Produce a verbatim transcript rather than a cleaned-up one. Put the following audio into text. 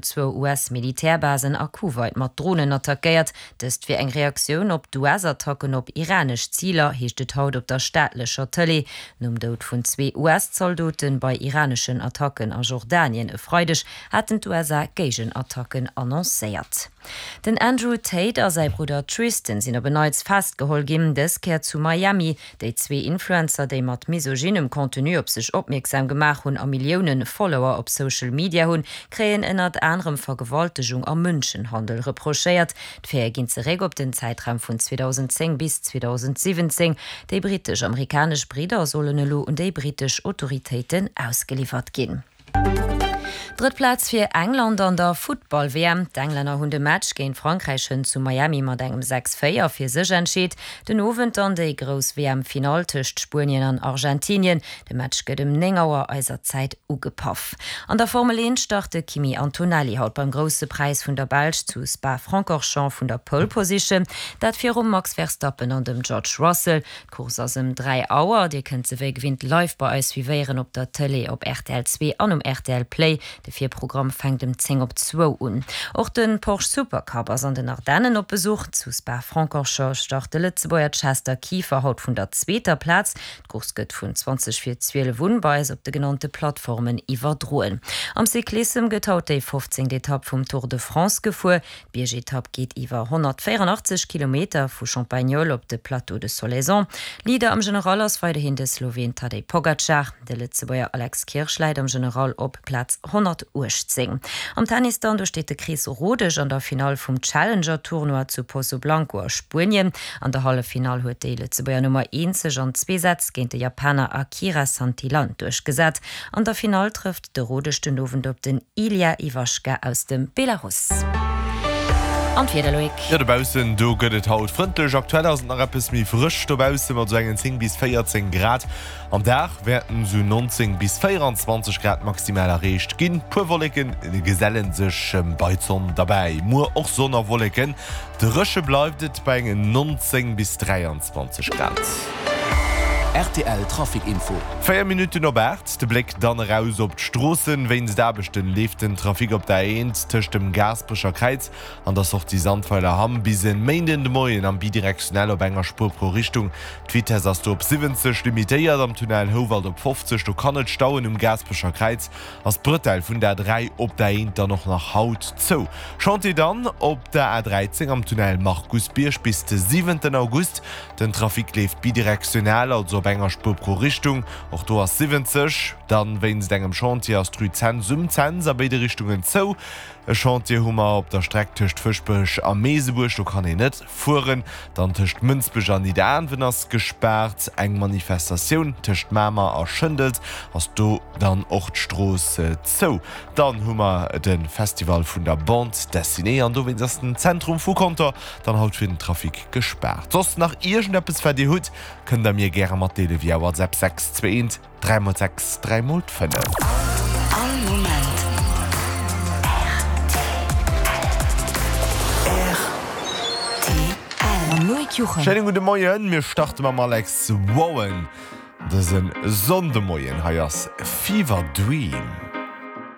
Zwou US-Militärbasen a Kuwait mat Dronen attackéiert. Dëst wier eng Reaktioun op d'US-Attacken op iranesch Ziler, heescht et haut op der staatlecher Tëlee. Nom Doud vun zwee US-Zaldote bei iraneschen Attacken a Jordanien e Freideg haten d'USA Géigenattacken annoncéiert. Den Andrew Tate a säi Brudder Tristan sinn op en Neits festgeholl ginn, dës Kéier zu Miami. Déi zwee Influencer, déi mat misogynem Contenu op sech opmierksam gemaach hunn a Millioune Follower op Social Media hunn, kréien ënnert anerem Vergewaltegung a Mënschenhandel reprochéiert. D'Faite ginn zeréck op den Zäitraum vun zweedausendzéng bis zweedausensiwwenzéng. Déi brittesch-amerikanesch Bridder sollen elo un déi brittesch Autoritéiten ausgeliwwert ginn. Drëtt Plaz fir England an der Futtball-W M. D'Englänner hunn de Match géint Frankräich hënt zu Miami mat engem sechs véier fir sech entscheet. Den Owend dann déi grouss W M-Finall tëscht Spuenien an Argentinien. De Match gëtt ëm néng Auer eiser Zäit ugepaff. An der Formel eent start de Kimi Antonelli haut beim Grousse Präis vun der Belsch zu Spa-Francorchamps vun der Pole Position, dat virum Max Verstappen an dem George Russell. D'Course ass ëm dräi Auer. Dir kënnt se wéi gewinnt live bei eis suivéieren op der Tëlee op R T L zwee an um R T L Play. De Virprogramm fänkt ëm zéng op zwou un. Och de Porsche Supercup ass an den Ardennen op Besuch. Zu Spa-Francorchamps start de Lëtzebuerger Chester Kieffer haut vun der zweeter Plaz. D'Course gëtt vun zwanzeg vir zwielef un bei eis op de genannte Plattformen iwwerdroen. Am Cyclissem gëtt haut déi fofzéngt Etapp vum Tour de France gefuer. D'Biergetapp geet iwwer honnertvéierandachtzeg Kilometer vu Champagnole op de Plateau de Solaison. Leader am General ass weiderhin de Sloween Tadej Pogacar. De Lëtzebuerger Alex Kirsch läit am General op Plaz honnertuechtzéng. Am Tennis dann, do steet de Chris Rodesch an der Finall vum Challenger-Tournoi zu Pozoblanco a Spuenien. An der Halleffinall huet déi Lëtzebuerger Nummer eent sech an zwee Sätz géint de Japaner Akira Santillan duerchgesat. An der Finall trëfft de Rodesch den Owend op den Ilya Ivashka aus dem Belarus. An d'Wieder, Loïc? Jo, dobaussen do gëtt et haut frëndlech. Aktuell ass et nach eppes méi frësch dobausse mat sou engen zéng bis véierzéng Grad. Am Dag wäerten sou nonzéng bis véieranzwanzeg Grad maximal erreecht ginn. Puer Wolleke geselle sech bei d'Sonn derbäi. Muer och Sonn a Wolleken, dréche bleift et bei engen nonzéng bis dräianzwanzeg Grad. R T L Trafic Info. Véier Minutten op aacht, de Bléck dann eraus op d'Stroossen. Wéinst Aarbechten leeft den Trafic op der A eent tëscht dem Gaasperecher Kräiz an der Sortie Sandweiler-Hamm bis en Méinden de Moien am Bidirektionell op enger Spuer pro Richtung. D'Vitess ass do op siwwenzeg limitéiert, am Tunnel Houwald op fofzeg. Do kann et stauen. Um Gaasperecher Kräiz ass d'Bretelle vun der A dräi op der A eent dann och nach haut zou. Chantier dann op der A dräizéng am Tunnel Markusbierg bis de siwenten August. Den Trafic leeft bidirektional, also op enger Spuer pro Richtung. Och do ass siwwenzeg. Dann wéinst engem Chantier ass d'Rue Cents um Cents a béide Richtungen zou. E Chantier hu mer op der Streck tëscht Fëschbech a Meesebuerg, do kann een net fueren. Dann tëscht Mënsbech an Nidderaanwen ass gespaart. Eng Manifestatioun tëscht Mamer a Schëndels ass do dann och d'Strooss zou. Dann hu mer de Festival vun der Bande Dessinée an dowéinst ass den Zentrum vu Conter dann haut fir den Trafic gespaart. Soss nach iergendeppes wat dir hutt, kënnt der mir gäre matdeele via WhatsApp sechs zwee eent dräi mol sechs dräi mol fënnef. All Moment R T L. Mam Loïc Juchem. Schéinen gudde Moien, mir starte mam Alex Warren dëse Sonndemoien. Hei ass Fever Dream.